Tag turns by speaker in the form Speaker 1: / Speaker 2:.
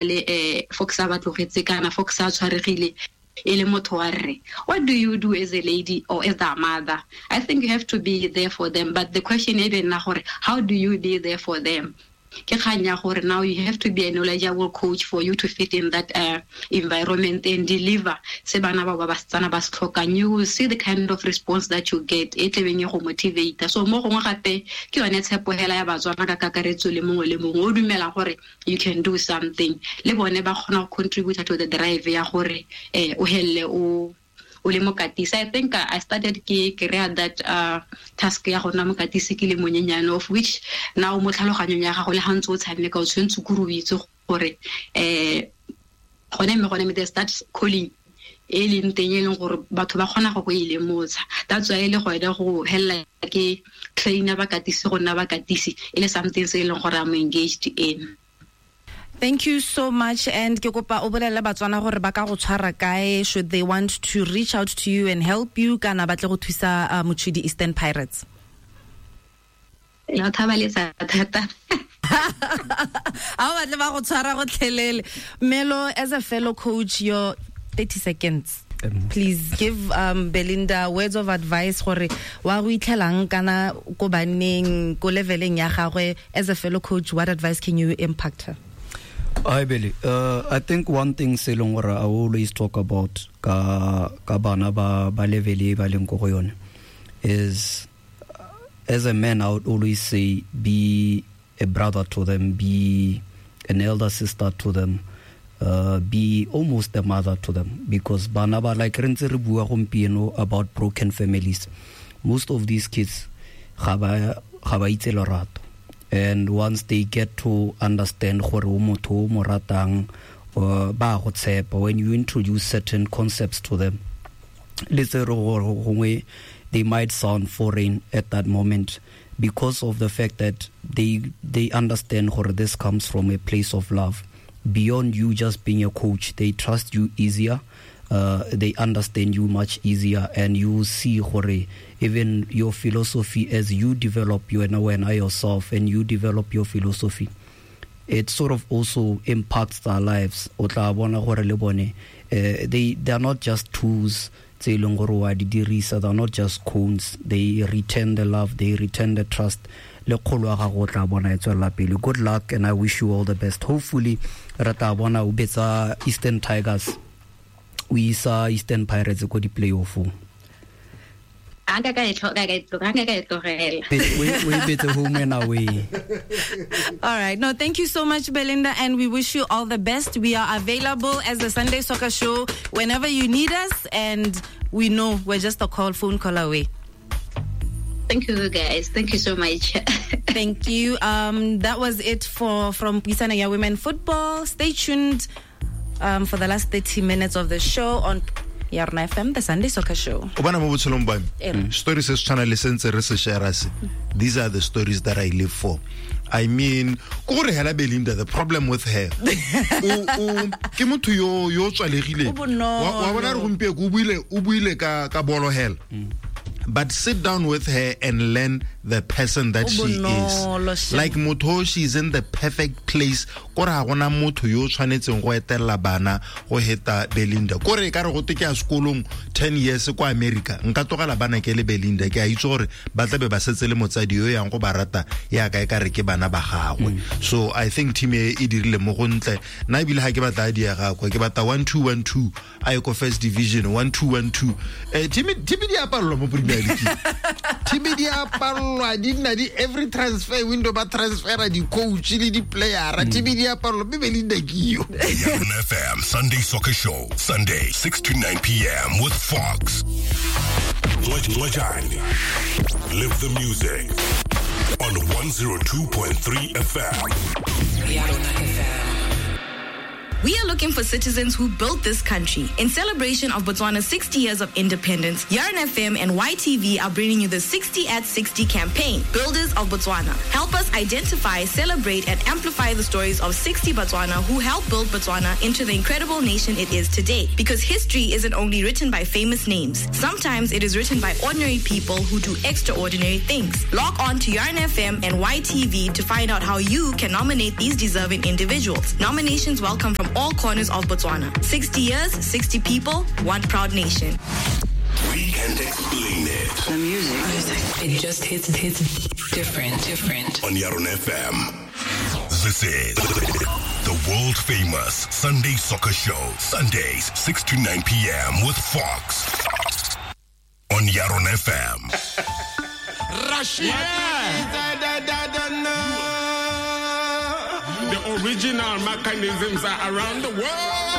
Speaker 1: Le Fox a ba tlogetse kana Fox a tshwaregile e le motho wa rre. What do you do as a lady or as a mother? I think you have to be there for them, but the question e be nna gore how do you be there for them? Ke kgang ya gore now you have to be a knowledgeable coach for you to fit in that environment and deliver se bana bao ba basetsana ba se tlhokang. You will see the kind of response that you get e tlebeng e go motivate. So mo gongwe gape ke yone tshepo hela ya Batswana ka kakaretso le mongwe le mongwe o dumela gore you can do something, le bone ba kgona go contribute to the drive ya gore o helle o le mokatisi. I think I started ke kry-a that task ya go nna mokatisi ke le monyenyane, of which now mo tlhaloganyong ya gago le ga ntse o tshameka o tshwanetse kore o itse gore gone mme gone there's that calling e leng teng e leng gore batho ba kgona go go e lemotsha. That's why e le gone go helela ke trainer bakatisi go nna bakatisi e le something se e leng gore I'm engaged in.
Speaker 2: Thank you so much, and ke kopa o bolelle Batswana gore ba ka go tshwara kae should they want to reach out to you and help you kana ba tle go thusa Mochudi Eastern Pirates.
Speaker 1: Ya thabaletsa thata.
Speaker 2: A o batle ba go tshwara go tlhelele. Melo, as a fellow coach, your 30 seconds. Please give Belinda words of advice gore wa go itlhelang kana ko banneng ko leveleng ya gagwe. As a fellow coach, what advice can you impact her?
Speaker 3: Hi Billy. I think one thing se leng gore I always talk about ka bana ba level e ba leng ko go yone is, as a man, I would always say be a brother to them, be an elder sister to them, be almost a mother to them, because bana ba like re ntse re bua gompieno about broken families. Most of these kids ga ba itse lerato, and once they get to understand gore o motho o mo ratang, ba go tshepa. When you introduce certain concepts to them, le tse re gore gongwe they might sound foreign at that moment, because of the fact that they understand gore this comes from a place of love. Beyond you just being a coach, they trust you easier, they understand you much easier, and you will see gore even your philosophy as you develop you and when I yourself and you develop your philosophy, it sort of also impacts their lives. O tla bona gore le bone, they are not just tools tse e leng gore wa di dirisa, they are not just cones. They return the love, they return the trust. Le kgolo ya gago o tla bona e tswelela pele. Good luck, and I wish you all the best. Hopefully re tla bona o betsa Eastern Tigers, o isa Eastern Pirates ko di-playoffong.
Speaker 1: Anka ka e tlogela.
Speaker 3: We betse home and away.
Speaker 2: All right. No, thank you so much, Belinda, and we wish you all the best. We are available as the Sunday Soccer Show whenever you need us, and we know we're just a phone call away.
Speaker 1: Thank you, guys. Thank you so much.
Speaker 2: Thank you. That was it from Puisano ya Women Football. Stay tuned for the last 30 minutes of the show on Yarona FM, the Sunday Soccer Show.
Speaker 4: O bona mo botshelong ba me, stories se tshwana le sentse re se share se. These are the stories that I live for. I mean, ko gore hela Belinda, the problem with her, o ke motho yo tswalegile. Wa bona re gompieno o buile ka bolo hela. But sit down with her and learn the person that she is. Like motho, she's in the perfect place. Kore ha gona motho yo tshwanetseng go etella bana go heta Belinda. Kore ka re go te ke a sekolong 10 years kwa America. Nka tlogela bana ke le Belinda, ke a itse gore ba tla be ba setse le motsadi yo yang go ba rata ya ka e ka re ke bana ba gagwe. So I think team e dirile mo go ntle. Nna ebile ha ke batla di ya gagwe, ke batla 1-2-1-2 a ye ko first division 1-2-1-2. Team di apallwa mo Premier League. Team di apallwa di nna di every transfer window ba transfera di coach le di player. Team di apallwa mme Belinda ke yo.
Speaker 5: Yarona FM Sunday Soccer Show, Sunday 6 to 9 p.m. with Fox. Lejani. Live the music on 102.3 FM.
Speaker 6: Yarona FM. We are looking for citizens who built this country. In celebration of Botswana's 60 years of independence, Yarn FM and YTV are bringing you the 60 at 60 campaign, Builders of Botswana. Help us identify, celebrate, and amplify the stories of 60 Botswana who helped build Botswana into the incredible nation it is today. Because history isn't only written by famous names. Sometimes it is written by ordinary people who do extraordinary things. Log on to Yarn FM and YTV to find out how you can nominate these deserving individuals. Nominations welcome from all corners of Botswana. 60 years, 60 people, one proud nation.
Speaker 5: We can't explain it.
Speaker 7: The music. It just hits different.
Speaker 5: On Yaron FM. This is the world famous Sunday Soccer Show. Sundays, 6 to 9 p.m. with Fox. On Yaron FM.
Speaker 8: Rashid. The original mechanisms are around the world.